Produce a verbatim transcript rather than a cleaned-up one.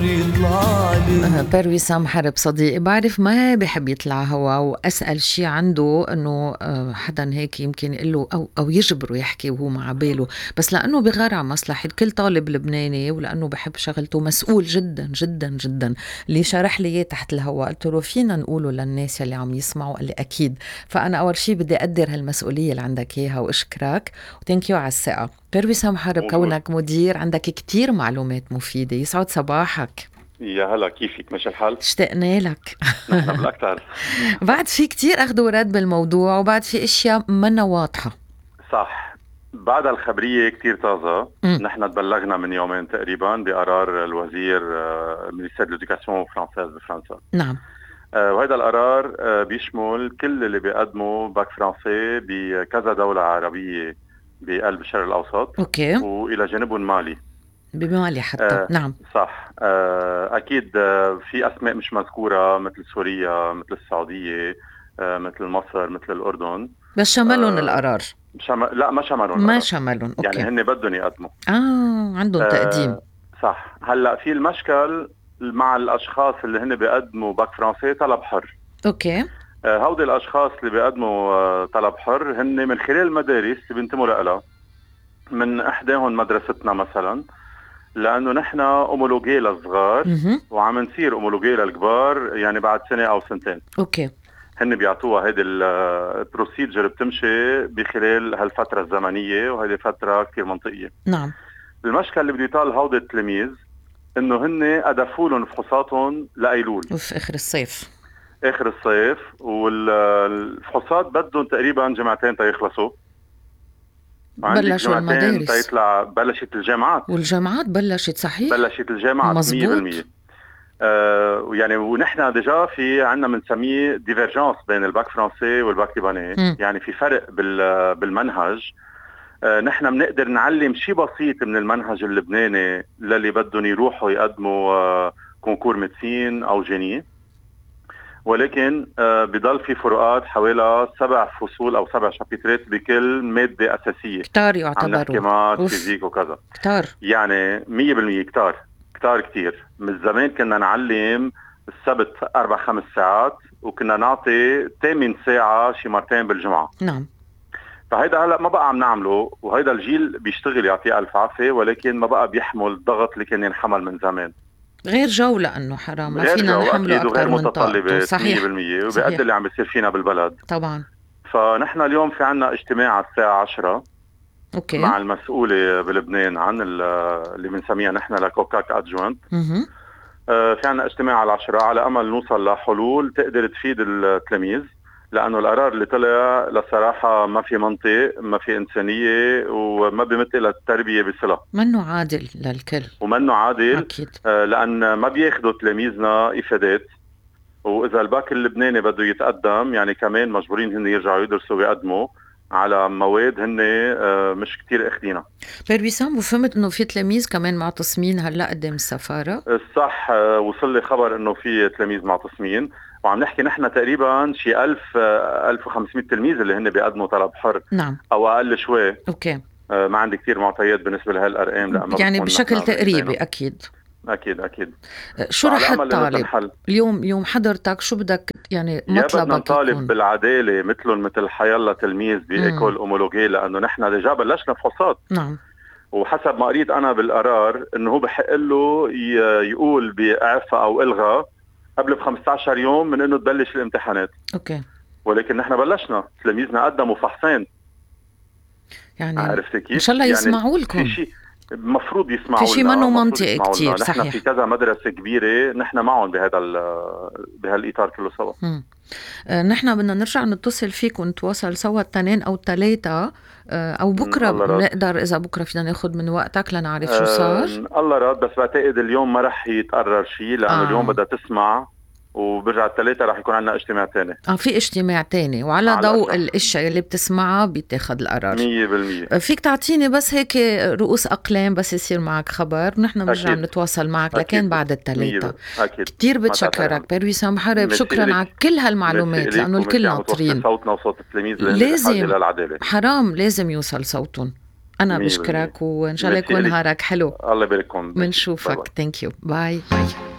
النور يطلعلي. بير وسام حرب صديقي بعرف ما بحب يطلع هوا، وأسأل شي عنده إنه حدا هيك يمكن يقله أو, أو يجبره يحكي وهو مع باله، بس لأنه بغار على مصلحة كل طالب لبناني ولأنه بحب شغلته مسؤول جدا جدا جدا. اللي شرح لي إياه تحت الهوا قلت له فينا نقوله للناس اللي عم يسمعوا؟ قال لي أكيد. فأنا أول شي بدي أقدر هالمسؤولية اللي عندك إياها وأشكرك وتنكيو على الثقة. بير وسام حرب كونك مدير عندك كتير معلومات مفيدة، يسعد صباحك. يا هلا، كيفك؟ ماشي الحال؟ اشتقنا لك. نحن بالأكتر. بعد في كتير أخذ ورد بالموضوع وبعد في اشياء منا واضحة. صح، بعد الخبرية كتير طازة. نحن تبلغنا من يومين تقريبا بقرار الوزير مينيستير الإدوكاسيون فرنسيز بفرنسا. نعم. آه وهذا القرار آه بيشمل كل اللي بيقدموا باك فرنسي بكذا دولة عربية بقلب الشرق الأوسط. أوكي. وإلى جانبهم مالي. بمالي حتى. آه نعم صح. آه أكيد آه في أسماء مش مذكورة مثل سوريا، مثل السعودية، آه مثل مصر، مثل الأردن. بس شملهم آه القرار؟ شم... لا ما شملهم. ما شملهم. أوكي. يعني هن بدهم يقدموا. آه عندهم تقديم. آه صح. هلأ في المشكل مع الأشخاص اللي هن بيقدموا باك فرنسي طلب حر. أوكي. آه هودي الأشخاص اللي بيقدموا آه طلب حر هن من خلال المدارس اللي بينتموا لها، من إحداهم مدرستنا مثلا، لأنه نحن أمولوجي للصغار وعم نصير أمولوجي للكبار يعني بعد سنة أو سنتين. أوكي. هن بيعطوها هيدي البروسيجر بتمشي بخلال هالفترة الزمنية، وهذه فترة كتير منطقية. نعم. المشكلة اللي بده يطال هودي التلاميذ إنه هن أدفوا لهم فحوصاتهم لأيلول وفي آخر الصيف. آخر الصيف، والفحوصات بدهم تقريبا جمعتين تيخلصوا. بلشوا المدارس تيطلع بلشت الجامعات، والجامعات بلشت. صحيح، بلشت الجامعات مية بالمية. آه يعني ونحن ديجا في عنا منسميه ديفيرجنس بين الباك فرنسي والباك لبناني. يعني في فرق بالمنهج. آه نحن بنقدر نعلم شيء بسيط من المنهج اللبناني للي بدهم يروحوا يقدموا آه كونكور ميدسين او جيني، ولكن آه بضل في فروقات حوالي سبع فصول او سبع شابيترات بكل مادة اساسية. كتار يعتبروا. عم نحكي مات فيزيك وكذا. كتار يعني مية بالمية كتار كتار كتير. من زمان كنا نعلم السبت أربع خمس ساعات وكنا نعطي ثامن ساعة شي مرتين بالجمعة. نعم. فهيدا هلأ ما بقى عم نعمله، وهيدا الجيل بيشتغل يعطيه ألف عافية، ولكن ما بقى بيحمل الضغط اللي كان ينحمل من زمان. غير جو، لأنه حرام ما فينا نحمله أكتر من طاقته. صحيح مية بالمية. وبيقدر اللي عم بيصير فينا بالبلد طبعا. فنحن اليوم في عنا اجتماع على الساعة عشرة. أوكي. مع المسؤولة بلبنان عن اللي بنسميها نحن لكوكاك أدجوانت. آه في عنا اجتماع على العشرة على أمل نوصل لحلول تقدر تفيد التلاميذ، لأنه القرار اللي طلع لصراحة ما في منطق، ما في إنسانية، وما بيمثل التربية بصلة. منه عادل للكل ومنه عادل. أكيد. آه لأن ما بياخدوا تلاميذنا إفادات، وإذا الباك اللبناني بده يتقدم يعني كمان مجبورين هن يرجعوا يدرسوا ويقدموا على مواد هن آه مش كتير اخدينها. بير وسام، وفهمت انه في تلاميذ كمان معتصمين هلا قدام السفارة. صح. آه وصل لي خبر انه في تلاميذ معتصمين، وعم نحكي نحن تقريبا شي ألف آه ألف وخمسمية تلميذ اللي هن بيقدموا طلب حر. نعم. او اقل شوي. اوكي. آه ما عندي كتير معطيات بالنسبة لهالارقام، يعني بشكل تقريبي. اكيد اكيد اكيد. شو رح تطالب اليوم يوم حضرتك؟ شو بدك يعني مطلبك؟ يا بدنا نطالب بالعداله مثلهم مثل حيالله تلميذ بايكول اومولوجي، لانه نحن ديجا بلشنا فحوصات. نعم. وحسب ما قريت انا بالقرار انه هو بحق له يقول باعفاء او الغاء قبل ب خمسة عشر يوم من انه تبلش الامتحانات. اوكي. ولكن نحن بلشنا، تلاميذنا قدموا فحصين. يعني عرفت كيف؟ ان شاء الله يسمعوا يعني لكم. المفروض يسمعوا في شيء منه منطقي كتير. نحن صحيح. في كذا مدرسة كبيرة نحن معهم بهذا بهالإطار كله سوا. آه نحن بدنا نرجع نتصل فيك ونتواصل سوا التنين أو التلاتة آه أو بكرة بنقدر، إذا بكرة فينا ناخد من وقتك لنعرف شو صار. آه الله راد. بس بعتقد اليوم ما رح يتقرر شيء، لأنه آه. اليوم بدها تسمع، وبرجع الثلاثة رح يكون عنا اجتماع تاني. اه في اجتماع تاني، وعلى ضوء الاشياء اللي بتسمعها بيتاخد القرار. مية بالمية. فيك تعطيني بس هيك رؤوس أقلام بس يصير معك خبر، ونحن بنرجع نتواصل معك. لكن بعد الثلاثة. كتير بتشكرك بير وسام حرب، شكرا على كل هالمعلومات، لأنه الكل ناطرين. صوتنا وصوت التلاميذ لازم حرام لازم يوصل صوتهم. انا مية بالمية. بشكرك وان شاء الله ميرسي يكون إلك. نهارك حلو. الله يبارككم. منشوفك. ثانك يو. باي باي.